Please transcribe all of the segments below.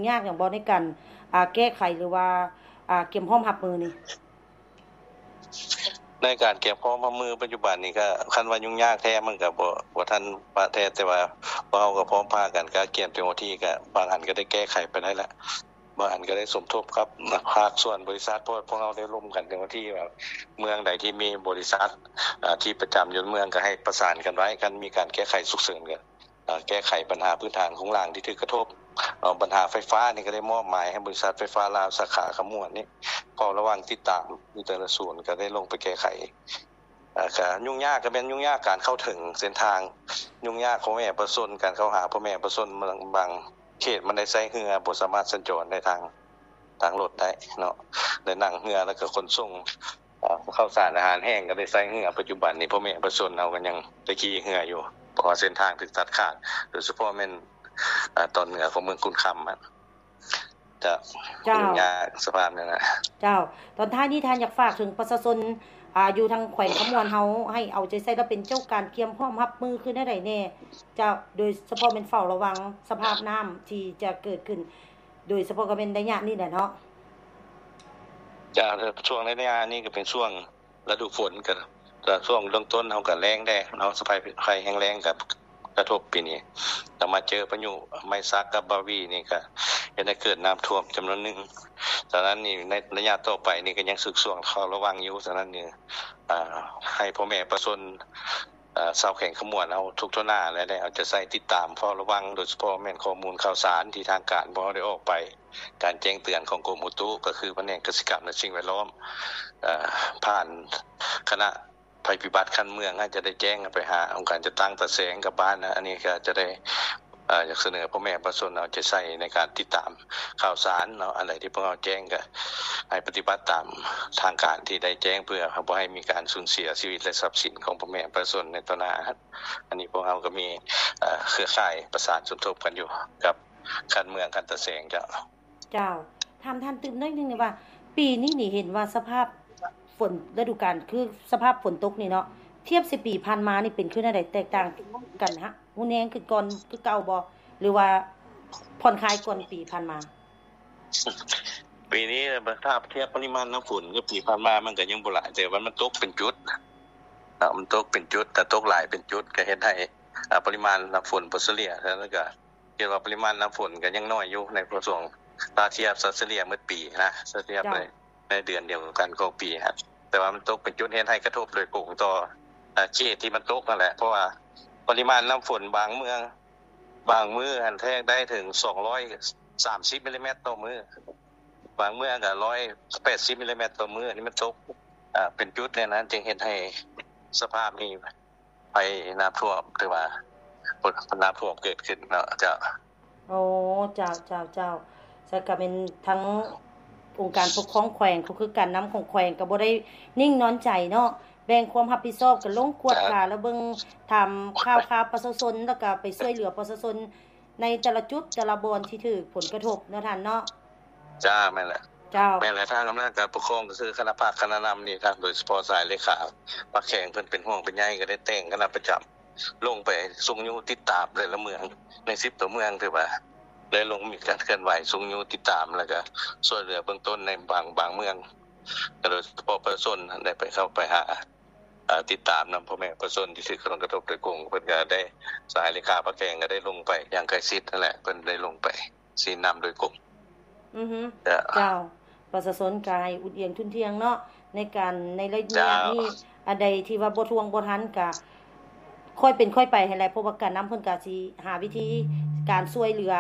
ຍາກຫຍັງບໍ່ໃນການ ອ່າ ແກ້ໄຂ ຫຼືວ່າ ອ່າ ກຽມພ້ອມຮັບມືນີ້? ໃນການກຽມພ້ອມຮັບມືປັດຈຸບັນນີ້ ກໍຄັນວ່າຫຍຸ້ງຍາກແທ້ ມັນກໍບໍ່ ບໍ່ທັນປະແທ້ ແຕ່ວ່າພວກເຮົາກໍພ້ອມພາກັນ ກະກຽມເຕັມທີ່ ກະບາງອັນກໍໄດ້ແກ້ໄຂໄປໄດ້ລະ ບາງອັນກໍໄດ້ສົມທົບກັບພາກສ່ວນບໍລິສັດ ເພາະພວກເຮົາໄດ້ລົມກັນເຕັມທີ່ວ່າ ເມືອງໃດທີ່ມີບໍລິສັດ ອ່າ ທີ່ປະຈຳຢູ່ເມືອງ ກໍໃຫ້ປະສານກັນໄວ້ ຄັນມີການແກ້ໄຂສຸກເສີນ ກໍ ເອີ ແກ້ໄຂບັນຫາພື້ນຖານໂຄງລ່າງທີ່ຖືກກະທົບ, ເອີ ບັນຫາໄຟຟ້ານີ້ກໍໄດ້ມອບໝາຍໃຫ້ບໍລິສັດໄຟຟ້າລາວສາຂາຄຳມ່ວນນີ້ເຝົ້າລະວັງຕິດຕາມຢູ່ແຕ່ລະສູນ ກໍໄດ້ລົງໄປແກ້ໄຂ. ເອີ ກະຫຍຸ້ງຍາກ ກະແມ່ນຫຍຸ້ງຍາກການເຂົ້າເຖິງເສັ້ນທາງ, ຫຍຸ້ງຍາກພໍ່ແມ່ປະຊາຊົນ ການເຂົ້າຫາພໍ່ແມ່ປະຊາຊົນ ບາງ ບາງເຂດມັນໄດ້ໃຊ້ເຮືອ ບໍ່ສາມາດສັນຈອນໄດ້ທາງ ທາງລົດໄດ້ເນາະ ໄດ້ນັ່ງເຮືອ ແລ້ວກໍຂົນສົ່ງ ເອີ ເຂົ້າສານອາຫານແຫ້ງກໍໄດ້ໃຊ້ເຮືອ. ປັດຈຸບັນນີ້ພໍ່ແມ່ປະຊາຊົນເຮົາກໍຍັງໄດ້ຂີ່ເຮືອຢູ່ ເພາະວ່າເສັ້ນທາງຖືກຕັດຂາດ ໂດຍສະເພາະແມ່ນ ເອີ ຕອນເໜືອຂອງເມືອງຂຸນຄຳຫັ້ນ ຈະ ເຈົ້າ ຫຍຸ້ງຍາກສະພາບນັ້ນນະ. ເຈົ້າ ຕອນທ້າຍນີ້ທ່ານຢາກຝາກເຖິງປະຊາຊົນ ອ່າ ຢູ່ທາງແຂວງຄຳມ່ວນເຮົາ ໃຫ້ເອົາໃຈໃສ່ ແລະ ເປັນເຈົ້າການກຽມພ້ອມຮັບມືຄືແນວໃດແດ່ ເຈົ້າ ໂດຍສະເພາະແມ່ນເຝົ້າລະວັງສະພາບນ້ຳທີ່ຈະເກີດຂຶ້ນ ໂດຍສະເພາະກໍແມ່ນໄລຍະນີ້ແຫຼະເນາະ. ຈະ ຊ່ວງໄລຍະນີ້ກໍເປັນຊ່ວງລະດູຝົນ ກໍ ກໍຊ່ວງເລີ່ມຕົ້ນເຮົາກໍແລ້ງແດ່ເນາະ ສະພາບໄພແຫ້ງແລ້ງກໍກະທົບປີນີ້ ແລ້ວມາເຈີພາຍຸໄມຊັກກັບບາວີນີ້ກໍເຮັດໃຫ້ເກີດນ້ຳຖ້ວມຈຳນວນໜຶ່ງ. ສະນັ້ນນີ້ ໃນໄລຍະຕໍ່ໄປນີ້ກໍຍັງສືບຊ່ວງເຝົ້າລະວັງຢູ່. ສະນັ້ນນີ້ ອ່າ ໃຫ້ພໍ່ແມ່ປະຊາຊົນ ເອີ ຊາວແຂວງຄຳມ່ວນເຮົາທຸກທົ່ວໜ້າ ແລະ ໄດ້ເອົາໃຈໃສ່ຕິດຕາມເຝົ້າລະວັງ ໂດຍສະເພາະແມ່ນຂໍ້ມູນຂ່າວສານທີ່ທາງການພວກເຮົາໄດ້ອອກໄປ, ການແຈ້ງເຕືອນຂອງກົມອຸຕຸ ກໍຄືພະແນກກະສິກຳ ແລະ ສິ່ງແວດລ້ອມ ເອີ ຜ່ານຄະນະໄພພິບັດຂັ້ນເມືອງ ອາດຈະໄດ້ແຈ້ງໄປຫາອົງການຈັດຕັ້ງຕາແສງກັບບ້ານນະ. ອັນນີ້ກໍຈະໄດ້ ເອີ ຢາກສະເໜີພໍ່ແມ່ປະຊາຊົນເອົາໃຈໃສ່ໃນການຕິດຕາມຂ່າວສານເນາະ, ອັນໃດທີ່ພວກເຮົາແຈ້ງກໍໃຫ້ປະຕິບັດຕາມທາງການທີ່ໄດ້ແຈ້ງ ເພື່ອບໍ່ໃຫ້ມີການສູນເສຍຊີວິດ ແລະ ຊັບສິນຂອງພໍ່ແມ່ປະຊາຊົນໃນຕໍ່ໜ້າ. ອັນນີ້ພວກເຮົາກໍມີ ເອີ ເຄືອຂ່າຍປະສານສົມທົບກັນຢູ່ກັບຂັ້ນເມືອງ ຂັ້ນຕາແສງເຈົ້າ. ເຈົ້າ ຖາມທ່ານຕື່ມໜ້ອຍໜຶ່ງນີ້ວ່າ ປີນີ້ນີ້ເຫັນວ່າສະພາບຝົນ ລະດູການ ຄືສະພາບຝົນຕົກນີ້ເນາະ ທຽບໃສ່ປີຜ່ານມານີ້ເປັນຄືແນວໃດ? ແຕກຕ່າງກັນຮະ? ຮຸນແຮງຂຶ້ນກ່ອນຄືເກົ່າບໍ່ ຫຼືວ່າຜ່ອນຄາຍກ່ອນປີຜ່ານມາ? ປີນີ້ຖ້າທຽບປະລິມານນ້ຳຝົນກັບປີຜ່ານມາ ມັນກໍຍັງບໍ່ຫຼາຍ ແຕ່ວ່າມັນຕົກເປັນຈຸດເນາະ, ມັນຕົກເປັນຈຸດ ຖ້າຕົກຫຼາຍເປັນຈຸດກໍເຮັດໃຫ້ ອາ ປະລິມານນ້ຳຝົນບໍ່ສະເລ່ຍ ແລ້ວກໍ ຄິດວ່າປະລິມານນ້ຳຝົນກໍຍັງໜ້ອຍຢູ່ໃນຊ່ວງ ຖ້າທຽບເສລ່ຍໝົດປີນະ ຖ້າທຽບ ເຈົ້າ ໃນ ໃນເດືອນດຽວກັນຂອງປີຫັ້ນ, ແຕ່ວ່າມັນຕົກເປັນຈຸດເຮັດໃຫ້ກະທົບໂດຍກົງຕໍ່ ເຂດທີ່ມັນຕົກຫັ້ນແຫຼະ ເພາະວ່າປະລິມານນ້ຳຝົນບາງເມືອງ ບາງມື້ຫັ້ນແທກໄດ້ເຖິງສອງຮ້ອຍສາມສິບມິລລີແມັດຕໍ່ມື້, ບາງເມືອງກໍຮ້ອຍແປດສິບມິລລີແມັດຕໍ່ມື້, ອັນນີ້ມັນຕົກ ເປັນຈຸດແນວນັ້ນ ຈຶ່ງເຮັດໃຫ້ສະພາບນີ້ ໄພນ້ຳຖ້ວມ ຖືວ່ານ້ຳຖ້ວມເກີດຂຶ້ນເນາະເຈົ້າ. ໂອ້ ເຈົ້າ ເຈົ້າ ເຈົ້າ. ສະ ກະແມ່ນທາງອົງການປົກຄອງແຂວງ ກໍຄືການນຳຂອງແຂວງ ກໍບໍ່ໄດ້ນິ່ງນອນໃຈເນາະ, ແບ່ງຄວາມຮັບຜິດຊອບກັນລົງກວດກາ ແລະ ເບິ່ງຖາມຂ່າວຄາວປະຊາຊົນ ແລ້ວກໍໄປຊ່ວຍເຫຼືອປະຊາຊົນໃນແຕ່ລະຈຸດແຕ່ລະບ່ອນທີ່ຖືກຜົນກະທົບເນາະທ່ານເນາະ. ເຈົ້າ ແມ່ນແຫຼະ ເຈົ້າ ແມ່ນແຫຼະ. ທາງອຳນາດການປົກຄອງ ກໍຄືຄະນະພັກຄະນະນຳນີ້ ທາງໂດຍສະເພາະສາຍເລຂາພັກແຂວງ ເພິ່ນເປັນຫ່ວງເປັນໃຍ ກໍໄດ້ແຕ່ງຄະນະປະຈຳລົງໄປຊຸກຍູ້ຕິດຕາມແຕ່ລະເມືອງ ໃນສິບກວ່າເມືອງ ຖືວ່າໄດ້ລົງມີການເຄື່ອນໄຫວຊຸກຍູ້ຕິດຕາມ ແລ້ວກໍຊ່ວຍເຫຼືອເບື້ອງຕົ້ນໃນບາງ ບາງເມືອງ ກໍໂດຍສະເພາະປະຊາຊົນໄດ້ໄປ ເຂົ້າໄປຫາ ເອີ ຕິດຕາມນຳພໍ່ແມ່ປະຊາຊົນທີ່ຖືກຜົນກະທົບໂດຍກົງ. ເພິ່ນກໍໄດ້ ສາຍເລຂາພັກແຂວງກໍໄດ້ລົງໄປຢ່າງໃກ້ຊິດຫັ້ນແຫຼະ ເພິ່ນໄດ້ລົງໄປຊີ້ນຳໂດຍກົງ. ອືຮຶ ເຈົ້າ ເຈົ້າ. ປະຊາຊົນກໍໃຫ້ອຸ່ນອຽງທຸ່ນທ່ຽງເນາະ ໃນການ ໃນໄລຍະນີ້ ເຈົ້າ ອັນໃດທີ່ວ່າບໍ່ທ່ວງບໍ່ທັນກໍຄ່ອຍເປັນຄ່ອຍໄປຫັ້ນແຫຼະ ເພາະວ່າການນຳເພິ່ນກໍຊິຫາວິທີການຊ່ວຍເຫຼືອ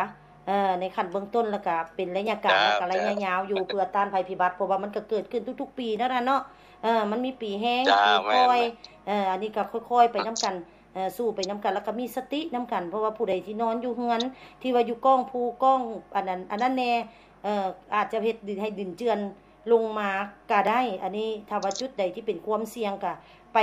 ເອີ ໃນຂັ້ນເບື້ອງຕົ້ນ ແລ້ວກໍເປັນໄລຍະການ ເຈົ້າ ແລ້ວກໍໄລຍະ ເຈົ້າ ຍາວຢູ່ ເພື່ອຕ້ານໄພພິບັດ ເພາະວ່າມັນກໍເກີດຂຶ້ນທຸກໆປີນັ້ນນະເນາະ. ເອີ ມັນມີປີແຮງ ເຈົ້າ ປີຄ່ອຍ ແມ່ນ ເອີ ອັນນີ້ກໍຄ່ອຍໆໄປນຳກັນ ເອີ ສູ້ໄປນຳກັນ ແລ້ວກໍມີສະຕິນຳກັນ ເພາະວ່າຜູ້ໃດທີ່ນອນຢູ່ເຮືອນ ທີ່ວ່າຢູ່ກ້ອງພູກ້ອງ ອັນນັ້ນ ອັນນັ້ນແດ່ ເອີ ອາດຈະເຮັດດິນໃຫ້ດິນເຈື່ອນລົງມາກໍໄດ້. ອັນນີ້ຖ້າວ່າຈຸດໃດທີ່ເປັນຄວາມສ່ຽງ ກໍໄປ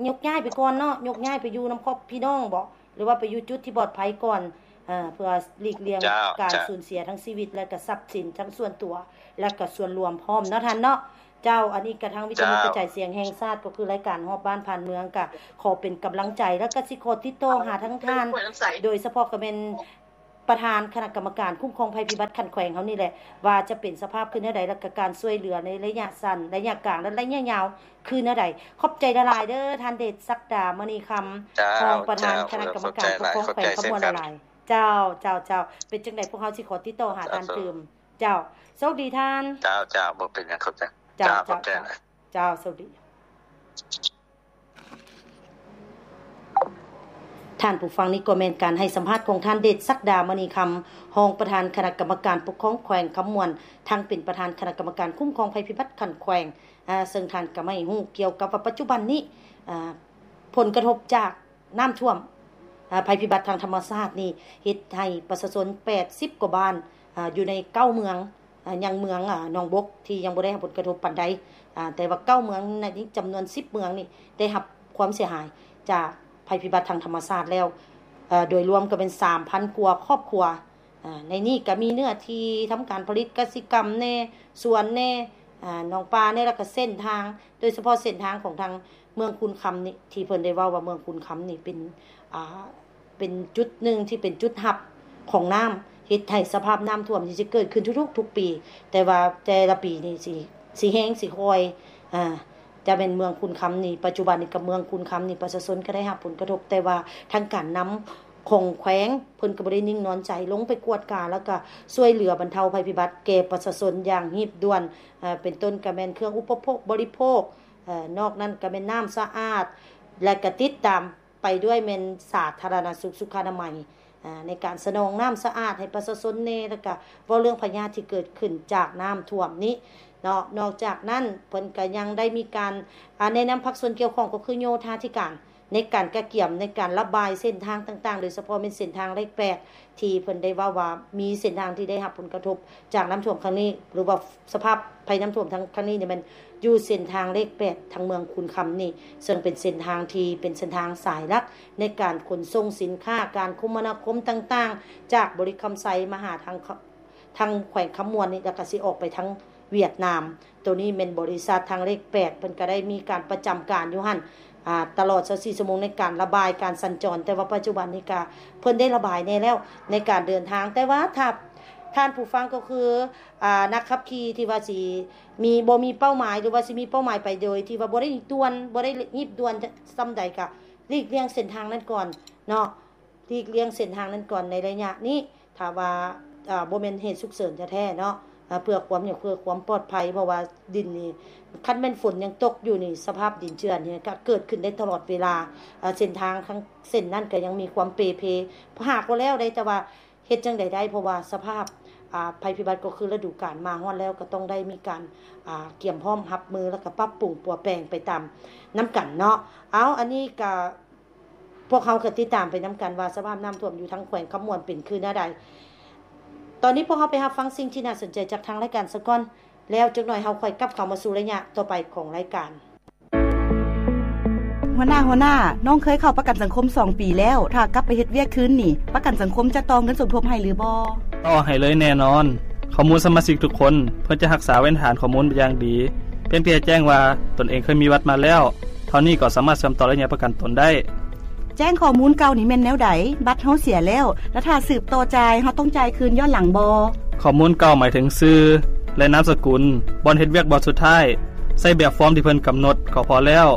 ຍົກຍ້າຍໄປກ່ອນເນາະ ຍົກຍ້າຍໄປຢູ່ນຳຄອບພີ່ນ້ອງບໍ ຫຼືວ່າໄປຢູ່ຈຸດທີ່ປອດໄພກ່ອນ ເອີ ເພື່ອຫຼີກລ່ຽງ ເຈົ້າ ການ ເຈົ້າ ສູນເສຍທັງຊີວິດ ແລະ ກໍຊັບສິນ ທັງສ່ວນຕົວ ແລະ ກໍສ່ວນລວມພ້ອມເນາະທ່ານເນາະ. ເຈົ້າ ອັນນີ້ກະທາງວິທະຍຸກະຈາຍສຽງແຫ່ງຊາດ ກໍຄືລາຍການຮອບບ້ານຜ່ານເມືອງ ກະຂໍເປັນກຳລັງໃຈ ແລ້ວກະຊິຂໍຕິດຕໍ່ຫາທາງທ່ານ ໂດຍສະເພາະກະແມ່ນ ປະທານຄະນະກຳມະການຄຸ້ມຄອງໄພພິບັດຂັ້ນແຂວງເຮົານີ້ແຫຼະ ວ່າຈະເປັນສະພາບຄືແນວໃດ ແລ້ວກໍການຊ່ວຍເຫຼືອໃນໄລຍະສັ້ນ, ໄລຍະກາງ ແລະ ໄລຍະຍາວຄືແນວໃດ. ຂອບໃຈຫຼາຍໆເດີ້ ທ່ານເດດສັກດາ ມະນີຄຳ ເຈົ້າ ຮອງປະທານຄະນະກຳມະການປົກຄອງແຂວງຄຳມ່ວນຫຼາຍໆ. ເຈົ້າ ເຈົ້າ ເຈົ້າ ເປັນຈັ່ງໃດ ພວກເຮົາຊິຂໍຕິດຕໍ່ຫາທ່ານຕື່ມ. ເຈົ້າ ໂຊກດີທ່ານ. ເຈົ້າ ເຈົ້າ ບໍ່ເປັນຫຍັງ ຂອບໃຈ. ເຈົ້າ ເຈົ້າ ເຈົ້າ ໂຊກດີ. ທ່ານຜູ້ຟັງ, ນີ້ກໍແມ່ນການໃຫ້ສຳພາດຂອງທ່ານເດດສັກດາ ມະນີຄຳ ຮອງປະທານຄະນະກຳມະການປົກຄອງແຂວງຄຳມ່ວນ, ທັງເປັນປະທານຄະນະກຳມະການຄຸ້ມຄອງໄພພິບັດຂັ້ນແຂວງ, ເຊິ່ງທ່ານກໍໃຫ້ຮູ້ກ່ຽວກັບວ່າປັດຈຸບັນນີ້ ຜົນກະທົບຈາກນ້ຳຖ້ວມ ໄພພິບັດທາງທຳມະຊາດນີ້ ເຮັດໃຫ້ປະຊາຊົນແປດສິບກວ່າບ້ານ ຢູ່ໃນເກົ້າເມືອງ ຍັງເມືອງໜອງບົກທີ່ຍັງບໍ່ໄດ້ຮັບຜົນກະທົບປານໃດ, ແຕ່ວ່າເກົ້າເມືອງໃນຈຳນວນສິບເມືອງນີ້ ໄດ້ຮັບຄວາມເສຍຫາຍຈາກໄພພິບັດທາງທຳມະຊາດແລ້ວ ໂດຍລວມກໍແມ່ນສາມພັນກວ່າຄອບຄົວ. ໃນນີ້ກໍມີເນື້ອທີ່ທຳການຜະລິດກະສິກຳແດ່, ສວນແດ່, ໜອງປາແດ່ ແລ້ວກໍເສັ້ນທາງ, ໂດຍສະເພາະເສັ້ນທາງຂອງທາງເມືອງຄູນຄຳນີ້ ທີ່ເພິ່ນໄດ້ເວົ້າວ່າເມືອງຄູນຄຳນີ້ເປັນ ເປັນຈຸດໜຶ່ງທີ່ເປັນຈຸດຮັບຂອງນ້ຳ ເຮັດໃຫ້ສະພາບນ້ຳຖ້ວມນີ້ຊິເກີດຂຶ້ນທຸກໆ ທຸກປີ, ແຕ່ວ່າແຕ່ລະປີນີ້ຊິ ຊິແຮງ ຊິຄ່ອຍ ຈະແມ່ນເມືອງຄູນຄຳນີ້. ປັດຈຸບັນນີ້ກັບເມືອງຄູນຄຳນີ້ ປະຊາຊົນກໍໄດ້ຮັບຜົນກະທົບ, ແຕ່ວ່າທາງການນຳຂອງແຂວງ ເພິ່ນກໍບໍ່ໄດ້ນິ່ງນອນໃຈ ລົງໄປກວດກາ ແລ້ວກໍຊ່ວຍເຫຼືອບັນເທົາໄພພິບັດແກ່ປະຊາຊົນຢ່າງຮີບດ່ວນ, ເປັນຕົ້ນກໍແມ່ນເຄື່ອງອຸປະໂພກບໍລິໂພກ, ນອກນັ້ນກໍແມ່ນນ້ຳສະອາດ ແລະ ກໍຕິດຕາມ ໄປດ້ວຍແມ່ນສາທາລະນະສຸກ ສຸຂານະໄມ ໃນການສະໜອງນ້ຳສະອາດໃຫ້ປະຊາຊົນແດ່ ແລ້ວກະເວົ້າເລື່ອງພະຍາດທີ່ເກີດຂຶ້ນຈາກນ້ຳຖ້ວມນີ້ເນາະ. ນອກຈາກນັ້ນ ເພິ່ນກະຍັງໄດ້ມີການ ອາ ແນະນຳພາກສ່ວນກ່ຽວຂ້ອງ ກໍຄືໂຍທາທິການ ໃນການກະກຽມ ໃນການລະບາຍເສັ້ນທາງຕ່າງໆ ໂດຍສະເພາະແມ່ນເສັ້ນທາງເລກແປດ ທີ່ເພິ່ນໄດ້ເວົ້າວ່າມີເສັ້ນທາງທີ່ໄດ້ຮັບຜົນກະທົບຈາກນ້ຳຖ້ວມຄັ້ງນີ້ ຫຼືວ່າ ສະພາບໄພນ້ຳຖ້ວມຄັ້ງ ຄັ້ງນີ້ນີ້ແມ່ນຢູ່ເສັ້ນທາງເລກແປດ ທາງເມືອງຄູນຄຳນີ້ ເຊິ່ງເປັນເສັ້ນທາງທີ່ເປັນເສັ້ນທາງສາຍຫຼັກໃນການຂົນສົ່ງສິນຄ້າ ການຄົມມະນາຄົມຕ່າງໆ ຈາກບໍລິຄຳໄຊມາຫາທາງ ທາງແຂວງຄຳມ່ວນນີ້ ແລ້ວກໍຊິອອກໄປທາງຫວຽດນາມ. ໂຕນີ້ແມ່ນບໍລິສັດທາງເລກແປດ ເພິ່ນກໍໄດ້ມີການປະຈຳການຢູ່ຫັ້ນ ອາ ຕະຫຼອດຊາວສີ່ຊົ່ວໂມງໃນການລະບາຍການສັນຈອນ, ແຕ່ວ່າປັດຈຸບັນນີ້ກະເພິ່ນໄດ້ລະບາຍແດ່ແລ້ວໃນການເດີນທາງ. ແຕ່ວ່າຖ້າທ່ານຜູ້ຟັງກໍຄື ອາ ນັກຂັບຂີ່ທີ່ວ່າຊິມີ ບໍ່ມີເປົ້າໝາຍ ຫຼືວ່າຊິມີເປົ້າໝາຍໄປໂດຍທີ່ວ່າບໍ່ໄດ້ດ່ວນ ບໍ່ໄດ້ຮີບດ່ວນສ່ຳໃດ ກະຫຼີກລ່ຽງເສັ້ນທາງນັ້ນກ່ອນເນາະ, ຫຼີກລ່ຽງເສັ້ນທາງນັ້ນກ່ອນໃນໄລຍະນີ້. ຖ້າວ່າ ອາ ບໍ່ແມ່ນເຫດສຸກເສີນແທ້ໆເນາະ ອາ ເພື່ອຄວາມຫຍັງ ເພື່ອຄວາມປອດໄພ ເພາະວ່າດິນນີ້ ຄັນແມ່ນຝົນຍັງຕົກຢູ່ນີ້ ສະພາບດິນເຈື່ອນນີ້ກໍເກີດຂຶ້ນໄດ້ຕະຫຼອດເວລາ. ອາ ເສັ້ນທາງທັງເສັ້ນນັ້ນກໍຍັງມີຄວາມເປເພ ຫາກໍແລ້ວໄດ້ ແຕ່ວ່າເຮັດຈັ່ງໃດໄດ້ ເພາະວ່າສະພາບ ອາ ໄພພິບັດກໍຄືລະດູການມາຮອດແລ້ວ ກໍຕ້ອງໄດ້ມີການ ອາ ກຽມພ້ອມຮັບມື ແລ້ວກໍປັບປຸງປົວແປງໄປຕາມນຳກັນເນາະ. ເອົາ ອັນນີ້ກໍ ພວກເຮົາກໍຕິດຕາມໄປນຳກັນວ່າສະພາບນ້ຳຖ້ວມຢູ່ທາງແຂວງຄຳມ່ວນເປັນຄືແນວໃດ. ຕອນນີ້ພວກເຮົາໄປຮັບຟັງສິ່ງທີ່ໜ້າສົນໃຈຈາກທາງລາຍການສາກ່ອນ, ແລ້ວຈັກໜ່ອຍເຮົາຄ່ອຍກັບເຂົ້າມາສູ່ໄລຍະຕໍ່ໄປຂອງລາຍການ. ຫົວໜ້າ, ຫົວໜ້າ, ນ້ອງເຄີຍເຂົ້າປະກັນສັງຄົມສອງປີແລ້ວ, ຖ້າກັບໄປເຮັດວຽກຄືນນີ້, ປະກັນສັງຄົມຈະຕໍ່ເງິນສົມທົບໃຫ້ຫຼືບໍ່? ຕໍ່ໃຫ້ເລີຍແນ່ນອນ. ຂໍ້ມູນສະມາຊິກທຸກຄົນ ເພິ່ນຈະຮັກສາເວນຖານຂໍ້ມູນຢ່າງດີ. ພຽງແຕ່ແຈ້ງວ່າຕົນເອງເຄີຍມີບັດມາແລ້ວ ເທົ່ານີ້ກໍສາມາດເຊື່ອມຕໍ່ໄລຍະປະກັນຕົນໄດ້. ແຈ້ງຂໍ້ມູນເກົ່ານີ້ແມ່ນແນວໃດ? ບັດເຮົາເສຍແລ້ວ ແລະ ຖ້າສືບຕໍ່ຈ່າຍ ເຮົາຕ້ອງຈ່າຍຄືນຍ້ອນຫຼັງບໍ່? ຂໍ້ມູນເກົ່າໝາຍເຖິງຊື່ ແລະ ນາມສະກຸນ, ບ່ອນເຮັດວຽກບ່ອນສຸດທ້າຍ. ໃສ່ແບບຟອມທີ່ເພິ່ນກຳນົດກໍພໍແລ້ວ.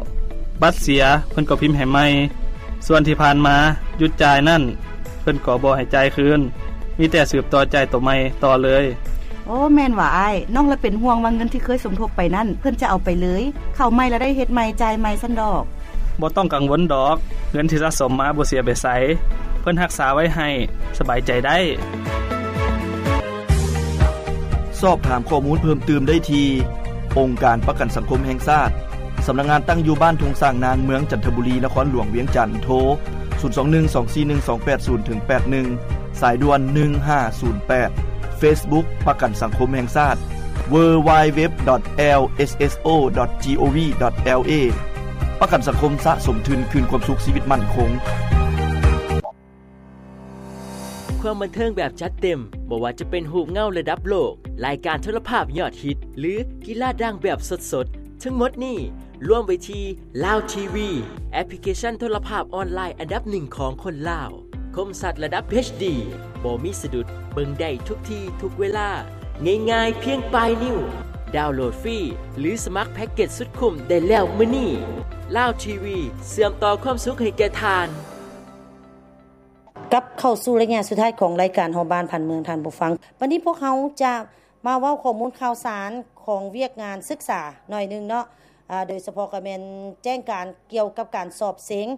ບັດເສຍ ເພິ່ນກໍພິມໃຫ້ໃໝ່. ສ່ວນທີ່ຜ່ານມາຢຸດຈ່າຍນັ້ນ ເພິ່ນກໍບໍ່ໃຫ້ຈ່າຍຄືນ, ມີແຕ່ສືບຕໍ່ຈ່າຍໂຕໃໝ່ຕໍ່ເລີຍ. ໂອ້ ແມ່ນຫວາອ້າຍ, ນ້ອງລະເປັນຫ່ວງວ່າເງິນທີ່ເຄີຍສົມທົບໄປນັ້ນ ເພິ່ນຈະເອົາໄປເລີຍ, ເຂົ້າໃໝ່ລະໄດ້ເຮັດໃໝ່, ຈ່າຍໃໝ່ຊັ້ນດອກ. ບໍ່ຕ້ອງກັງວົນດອກ, ເງິນທີ່ສະສົມມາບໍ່ເສຍໄປໃສ, ເພິ່ນຮັກສາໄວ້ໃຫ້, ສະບາຍໃຈໄດ້. ສອບຖາມຂໍ້ມູນເພີ່ມຕື່ມໄດ້ທີ່ ອົງການປະກັນສັງຄົມແຫ່ງຊາດ, ສຳນັກງານຕັ້ງຢູ່ບ້ານທົ່ງຊ້າງນາງ, ເມືອງຈັນທະບູລີ, ນະຄອນຫຼວງວຽງຈັນ, ໂທ ສູນສອງໜຶ່ງ ສອງສີ່ໜຶ່ງ ສອງແປດສູນ ເຖິງ ແປດໜຶ່ງ, ສາຍດ່ວນ ໜຶ່ງຫ້າສູນແປດ, ເຟສບຸກ ປະກັນສັງຄົມແຫ່ງຊາດ, ເວີ ວາຍ ເວັບ ດອດ ແອລ ເອສ ເອສ ໂອ ດອດ ຈີ ໂອ ວີ ດອດ ແອລ ເອ. ປະກັນສັງຄົມສະສົມທຶນຄືນຄວາມສຸກຊີວິດໝັ້ນຄົງ. ຄວາມບັນເທີງແບບຈັດເຕັມ, ບໍ່ວ່າຈະເປັນຮູບເງົາລະດັບໂລກ, ລາຍການໂທລະພາບຍອດຮິດ ຫຼື ກິລາດັງແບບສົດໆ, ທັງໝົດນີ້ລວມໄວ້ທີ່ລາວທີວີ, ແອັບພລິເຄຊັນໂທລະພາບອອນລາຍອັນດັບໜຶ່ງຂອງຄົນລາວ. ຄົມຊັດລະດັບ ເອັດເອັດດີ ບໍ່ມີສະດຸດ, ເບິ່ງໄດ້ທຸກທີ່ທຸກເວລາ, ງ່າຍໆພຽງປາຍນິ້ວ. ດາວໂຫຼດຟຣີ ຫຼື ສະໝັກແພັກເກັດສຸດຄຸ້ມໄດ້ແລ້ວມື້ນີ້. ລາວທີວີ ເຊື່ອມຕໍ່ຄວາມສຸກໃຫ້ແກ່ທ່ານ. ກັບເຂົ້າສູ່ໄລຍະສຸດທ້າຍຂອງລາຍການຮອບບ້ານຜ່ານເມືອງ ທ່ານຜູ້ຟັງ. ບັດນີ້ພວກເຮົາຈະມາເວົ້າຂໍ້ມູນຂ່າວສານຂອງວຽກງານສຶກສາໜ້ອຍໜຶ່ງເນາະ, ອາ, ໂດຍສະເພາະກໍແມ່ນແຈ້ງການກ່ຽວກັບການສອບເສັງ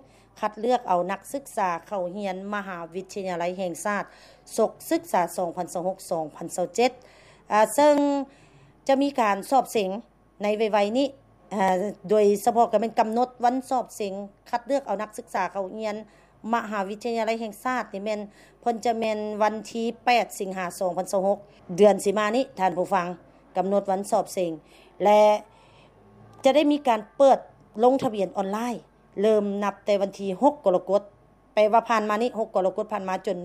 ຄັດເລືອກເອົານັກສຶກສາເຂົ້າຮຽນມະຫາວິທະຍາໄລແຫ່ງຊາດ ສົກສຶກສາສອງພັນຊາວຫົກ ສອງພັນຊາວເຈັດ, ອາ, ເຊິ່ງຈະມີການສອບເສັງ ໃນໄວໆນີ້, ອາ, ໂດຍສະເພາະກໍແມ່ນກຳນົດວັນສອບເສັງຄັດເລືອກເອົານັກສຶກສາເຂົ້າຮຽນມະຫາວິທະຍາໄລແຫ່ງຊາດນີ້ແມ່ນ ເພິ່ນຈະແມ່ນວັນທີແປດ ສິງຫາ ສອງພັນຊາວຫົກ ເດືອນຊິມານີ້ ທ່ານຜູ້ຟັງ, ກຳນົດວັນສອບເສັງ ແລະ ຈະໄດ້ມີການເປີດລົງທະບຽນອອນລາຍ ເລີ່ມນັບແຕ່ວັນທີຫົກ ກໍລະກົດ ແປວ່າຜ່ານມານີ້ ຫົກ ກໍລະກົດຜ່ານມາຈົນ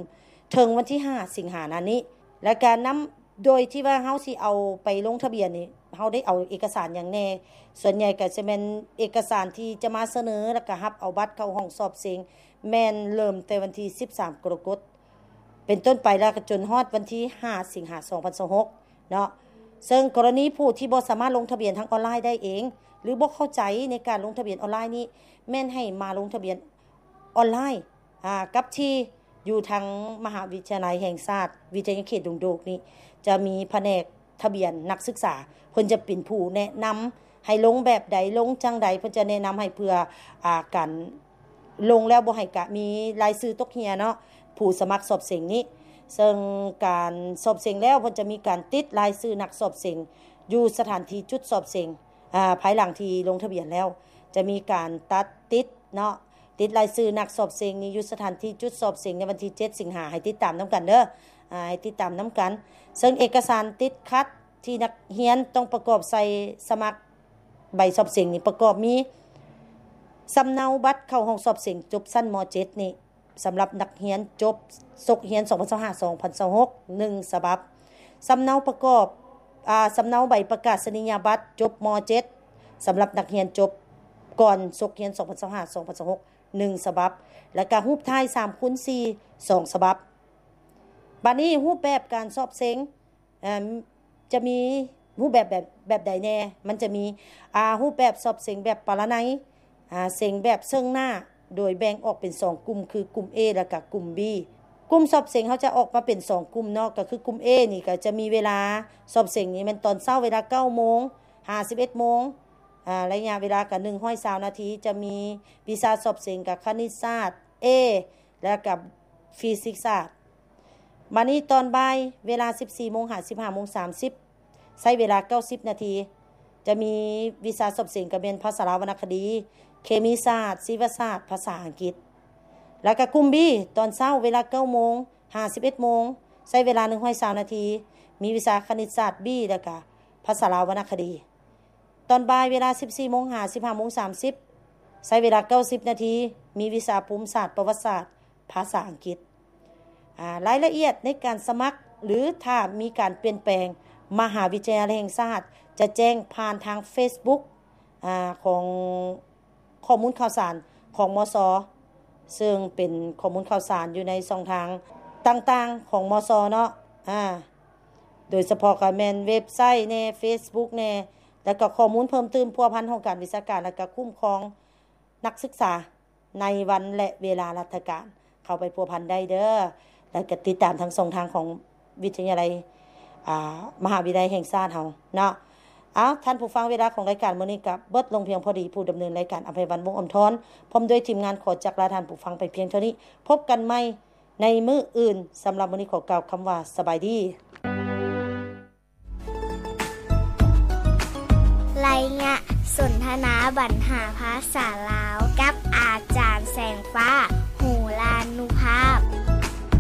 ເຖິງວັນທີຫ້າ ສິງຫານີ້ ແລະກະນຳ ໂດຍທີ່ວ່າເຮົາຊິເອົາໄປລົງທະບຽນນີ້ ເຮົາໄດ້ເອົາເອກະສານຫຍັງແດ່? ສ່ວນໃຫຍ່ກໍຈະແມ່ນເອກະສານທີ່ຈະມາສະເໜີ ແລະກະຮັບເອົາບັດເຂົ້າຫ້ອງສອບເສັງ ແມ່ນເລີ່ມແຕ່ວັນທີສິບສາມ ກໍລະກົດ ເປັນຕົ້ນໄປ ແລະກະຈົນຮອດວັນທີຫ້າ ສິງຫາ ສອງພັນຊາວຫົກເນາະ. ເຊິ່ງກໍລະນີຜູ້ທີ່ບໍ່ສາມາດລົງທະບຽນທາງອອນລາຍໄດ້ເອງ ຫຼືບໍ່ເຂົ້າໃຈໃນການລົງທະບຽນອອນລາຍນີ້ ແມ່ນໃຫ້ມາລົງທະບຽນ ອອນລາຍ ອາ ກັບທີ່ຢູ່ທາງມະຫາວິທະຍາໄລແຫ່ງຊາດ ວິທະຍາເຂດດົງໂດກນີ້ ຈະມີພະແນກທະບຽນນັກສຶກສາ ເພິ່ນຈະເປັນຜູ້ແນະນຳໃຫ້ລົງແບບໃດ ລົງຈັ່ງໃດ ເພິ່ນຈະແນະນຳໃຫ້ເພື່ອ ອາ ການລົງແລ້ວບໍ່ໃຫ້ກະມີລາຍຊື່ຕົກເຮ່ຍເນາະ ຜູ້ສະໝັກສອບເສັງນີ້. ເຊິ່ງການສອບເສັງແລ້ວ ເພິ່ນຈະມີການຕິດລາຍຊື່ນັກສອບເສັງຢູ່ສະຖານທີ່ຈຸດສອບເສັງ ອາ ພາຍຫຼັງທີ່ລົງທະບຽນແລ້ວ ຈະມີການຕັດ ຕິດເນາະ ຕິດລາຍຊື່ນັກສອບເສັງນີ້ຢູ່ສະຖານທີ່ຈຸດສອບເສັງໃນວັນທີເຈັດ ສິງຫາ ໃຫ້ຕິດຕາມນຳກັນເດີ ອາ ໃຫ້ຕິດຕາມນຳກັນ. ເຊິ່ງເອກະສານຕິດຂັດທີ່ນັກຮຽນຕ້ອງປະກອບໃສ່ສະໝັກໃບສອບເສັງນີ້ ປະກອບມີ ສຳເນົາບັດເຂົ້າຫ້ອງສອບເສັງຈົບຊັ້ນ ມ.ເຈັດ ນີ້ ສຳລັບນັກຮຽນຈົບສົກຮຽນ ສອງພັນຊາວຫ້າ ສອງພັນຊາວຫົກ ໜຶ່ງສະບັບ, ສຳເນົາປະກອບ ອາ ສຳເນົາໃບປະກາສະນີຍະບັດຈົບ ມ.ເຈັດ ສຳລັບນັກຮຽນຈົບກ່ອນສົກຮຽນ ສອງພັນຊາວຫ້າ ສອງພັນຊາວຫົກ ໜຶ່ງສະບັບ ແລະກະຮູບຖ່າຍສາມຄູນສີ່ ສອງສະບັບ. ບາດນີ້ຮູບແບບການສອບເສັງ ເອີ່ມ ຈະມີຮູບແບບ ແບບ ແບບໃດແດ່? ມັນຈະມີ ອາ ຮູບແບບສອບເສັງແບບປະລະໄນ ອາ ເສັງແບບເຊິ່ງໜ້າ ໂດຍແບ່ງອອກເປັນສອງກຸ່ມ ຄືກຸ່ມ A ແລະກະກຸ່ມ B. ກຸ່ມສອບເສັງເຮົາຈະອອກມາເປັນສອງກຸ່ມເນາະ ກໍຄືກຸ່ມ A ນີ້ກໍຈະມີເວລາສອບເສັງນີ້ແມ່ນຕອນເຊົ້າເວລາເກົ້າໂມງ ຫາ ສິບເອັດໂມງ ອາ ໄລຍະເວລາກໍໜຶ່ງຮ້ອຍຊາວນາທີ ຈະມີວິຊາສອບເສັງກໍຄະນິດສາດ A ແລະກະຟີຊິກສາດ. ບາດນີ້ຕອນບ່າຍເວລາສິບສີ່ໂມງ ຫາ ສິບຫ້າໂມງສາມສິບ ໃຊ້ເວລາເກົ້າສິບນາທີ ຈະມີວິຊາສອບເສັງກໍແມ່ນພາສາລາວວັນນະຄະດີ, ເຄມີສາດ, ຊີວະສາດ, ພາສາອັງກິດ. ແລ້ວກໍກຸ່ມ B ຕອນເຊົ້າເວລາເກົ້າໂມງ ຫາ ສິບເອັດໂມງ ໃຊ້ເວລາໜຶ່ງຮ້ອຍຊາວນາທີ ມີວິຊາຄະນິດສາດ B ແລ້ວກໍພາສາລາວວັນນະຄະດີ. ຕອນບ່າຍເວລາສິບສີ່ໂມງ ຫາ ສິບຫ້າໂມງສາມສິບ ໃຊ້ເວລາເກົ້າສິບນາທີ ມີວິຊາພູມສາດ, ປະຫວັດສາດ, ພາສາອັງກິດ. ອາ ລາຍລະອຽດໃນການສະໝັກ ຫຼື ຖ້າມີການປ່ຽນແປງ ມະຫາວິທະຍາໄລແຫ່ງຊາດຈະແຈ້ງຜ່ານທາງເຟສບຸກ ອາ ຂອງຂໍ້ມູນຂ່າວສານຂອງ ມສ ເຊິ່ງເປັນຂໍ້ມູນຂ່າວສານຢູ່ໃນຊ່ອງທາງຕ່າງໆຂອງ ມສ ເນາະ ອາ ໂດຍສະເພາະກໍແມ່ນເວັບໄຊແດ່, ເຟສບຸກແດ່ ແລ້ວກໍຂໍ້ມູນເພີ່ມຕື່ມພົວພັນຫ້ອງການວິຊາການ ແລ້ວກໍຄຸ້ມຄອງນັກສຶກສາ ໃນວັນ ແລະ ເວລາລັດຖະການ ເຂົ້າໄປພົວພັນໄດ້ເດີ ແລ້ວກໍຕິດຕາມທາງຊ່ອງທາງຂອງວິທະຍາໄລ ອາ ມະຫາວິທະຍາໄລແຫ່ງຊາດເຮົາເນາະ. ເອົາ ທ່ານຜູ້ຟັງ ເວລາຂອງລາຍການມື້ນີ້ກໍເບິດລົງພຽງພໍດີ. ຜູ້ດຳເນີນລາຍການ ອະໄພວັນ ວົງອຳທອນ ພ້ອມດ້ວຍທີມງານ ຂໍຈັກລາທ່ານຜູ້ຟັງໄປພຽງເທົ່ານີ້. ພົບກັນໃໝ່ໃນມື້ອື່ນ. ສຳລັບມື້ນີ້ ຂໍກ່າວຄຳວ່າ ສະບາຍດີ. ໄລຍະສົນທະນາບັນຫາພາສາລາວ ກັບອາຈານແສງຟ້າ.